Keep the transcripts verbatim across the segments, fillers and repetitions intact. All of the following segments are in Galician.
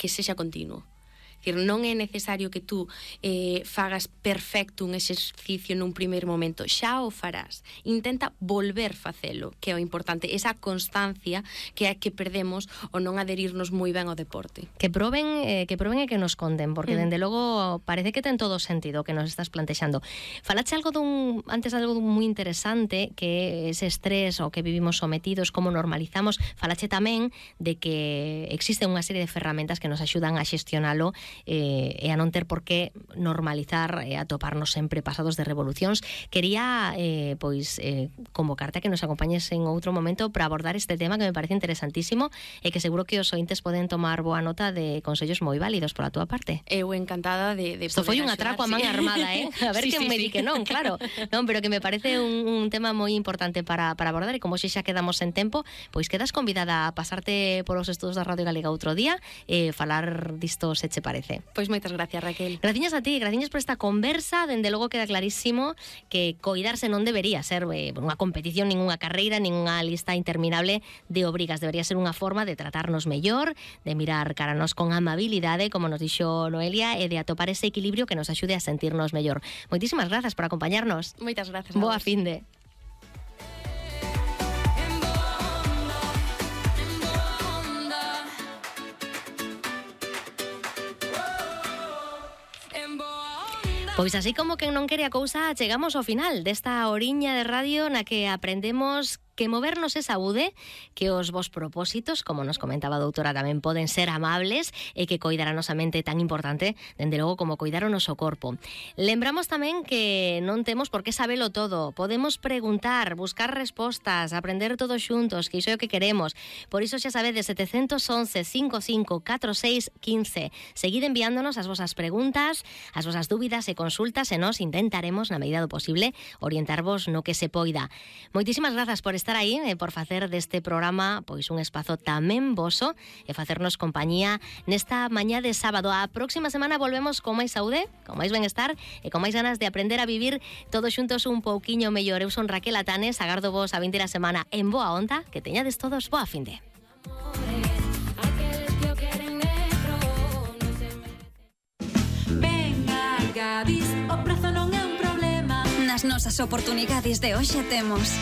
que sexa continuo. Dicir, non é necesario que tú eh, fagas perfecto un exercicio nun primeiro momento, xa o farás. Intenta volver facelo, que é o importante, esa constancia que é que perdemos o non adherirnos moi ben ao deporte. Que proben, eh, que proben e que nos conten, porque mm. dende logo parece que ten todo o sentido que nos estás plantexando. Falache algo dun, antes algo dun moi interesante, que ese estrés ao que vivimos sometidos, como normalizamos. Falache tamén de que existe unha serie de ferramentas que nos axudan a xestionalo eh, e a non ter por que normalizar e atoparnos sempre pasados de revolucións. Quería eh, pois eh, convocarte a que nos acompañes en outro momento para abordar este tema que me parece interesantísimo e que seguro que os ointes poden tomar boa nota de consellos moi válidos pola túa parte. Eu encantada de, de Isto foi un atraco a man sí. armada, eh? A ver sí, que sí, me sí. di que non, claro. Non, pero que me parece un, un tema moi importante para, para abordar, e como xe xa quedamos en tempo, pois quedas convidada a pasarte polos estudos da Radio Galega outro día e falar disto se che parece. Pois moitas gracias, Raquel. Graciñas a ti, graciñas por esta conversa. Dende logo queda clarísimo que coidarse non debería ser eh, unha competición, ninguna carreira, ninguna lista interminable de obrigas. Debería ser unha forma de tratarnos mellor, de mirar cara a nos con amabilidade, como nos dixo Noelia, e de atopar ese equilibrio que nos axude a sentirnos mellor. Moitísimas grazas por acompañarnos. Moitas grazas. Boa finde. Pois así como quen non quere a cousa, chegamos ao final desta horiña de radio na que aprendemos que movernos é saúde, que os vos propósitos, como nos comentaba a doutora, tamén poden ser amables e que coidar a nosa mente tan importante, dende logo, como coidar o noso corpo. Lembramos tamén que non temos por que sabelo todo. Podemos preguntar, buscar respostas, aprender todos xuntos, que iso é o que queremos. Por iso xa sabedes, sete once, cinco cinco, catro seis, quince. Seguid enviándonos as vosas preguntas, as vosas dúbidas e consultas, e nos intentaremos, na medida do posible, orientarvos no que se poida. Moitísimas grazas por estar aí e por facer deste programa pois un espazo tamén voso e facernos compañía nesta mañá de sábado. A próxima semana volvemos con máis saúde, con máis benestar e con máis ganas de aprender a vivir todos xuntos un pouquiño mellor. Eu son Raquel Atanes, agardo vos a vindeira semana en boa onda, que teñades todos boa finde. Venga, Gadis, o prazo non é un problema. Nas nosas oportunidades de hoxe temos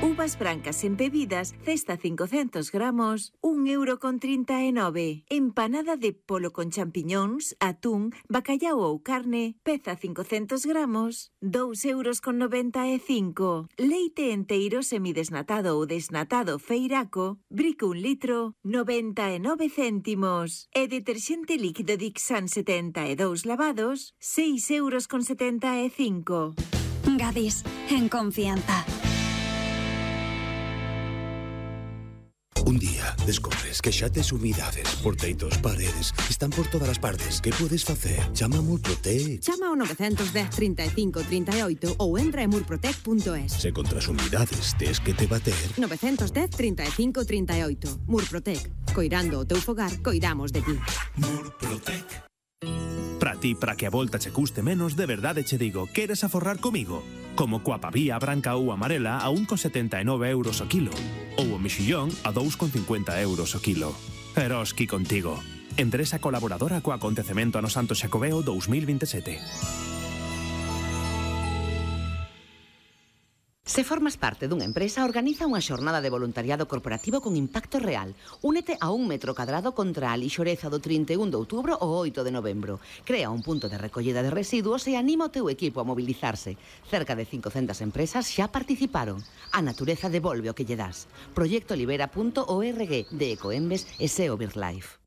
uvas brancas embebidas, cesta cincocentos gramos, un euro con trinta e nove. Empanada de polo con champiñóns, atún, bacallau ou carne, peza cincocentos gramos, dous euros con noventa e cinco. Leite enteiro semidesnatado ou desnatado feiraco, brico un litro, noventa e nove céntimos. E deterxente líquido Dixan setenta e dous lavados, seis euros con setenta e cinco. Gadis, en confianza. Un día descobres que xa tes humidades, porteitos, paredes, están por todas as partes. Que podes facer? Chama a Murprotec. Chama ao nove un cero, trinta e cinco, trinta e oito ou entra en murprotec punto es. Se contra as humidades tes que te bater. nove un cero, trinta e cinco, trinta e oito. Murprotec. Coirando o teu fogar, coidamos de ti. Murprotec. Para ti, para que a volta che custe menos, de verdade che digo, queres aforrar comigo? Como coa pavía branca ou amarela a un con setenta e nove euros o kilo, ou o mexillón a dous con cincuenta euros o kilo. Eroski contigo. Empresa colaboradora co acontecemento ano Santo Xacobeo dous mil vinte e sete. Se formas parte dunha empresa, organiza unha xornada de voluntariado corporativo con impacto real. Únete a un metro cadrado contra a lixoreza do trinta e un de outubro ao oito de novembro. Crea un punto de recollida de residuos e anima o teu equipo a mobilizarse. Cerca de cincocentas empresas xa participaron. A natureza devolve o que lle das. proyecto libera punto org de Ecoembes e SEO BirdLife.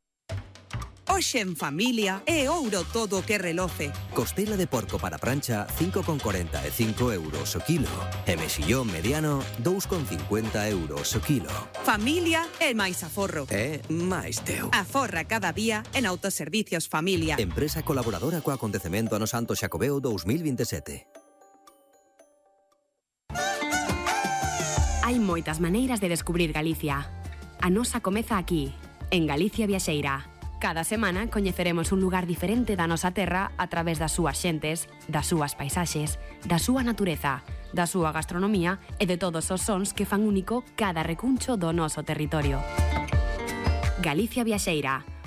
Hoxe en familia é ouro todo o que reloce. Costela de porco para prancha, cinco con corenta e cinco euros o kilo. E mexillón mediano, dous con cincuenta euros o kilo. Familia é máis aforro. É máis teu. Aforra cada día en Autoservicios Familia. Empresa colaboradora co acontecemento ano Santo Xacobeo dous mil vinte e sete. Hai moitas maneiras de descubrir Galicia. A nosa comeza aquí, en Galicia Viaxeira. Cada semana coñeceremos un lugar diferente da nosa terra a través das súas xentes, das súas paisaxes, da súa natureza, da súa gastronomía e de todos os sons que fan único cada recuncho do noso territorio. Galicia Viaxeira,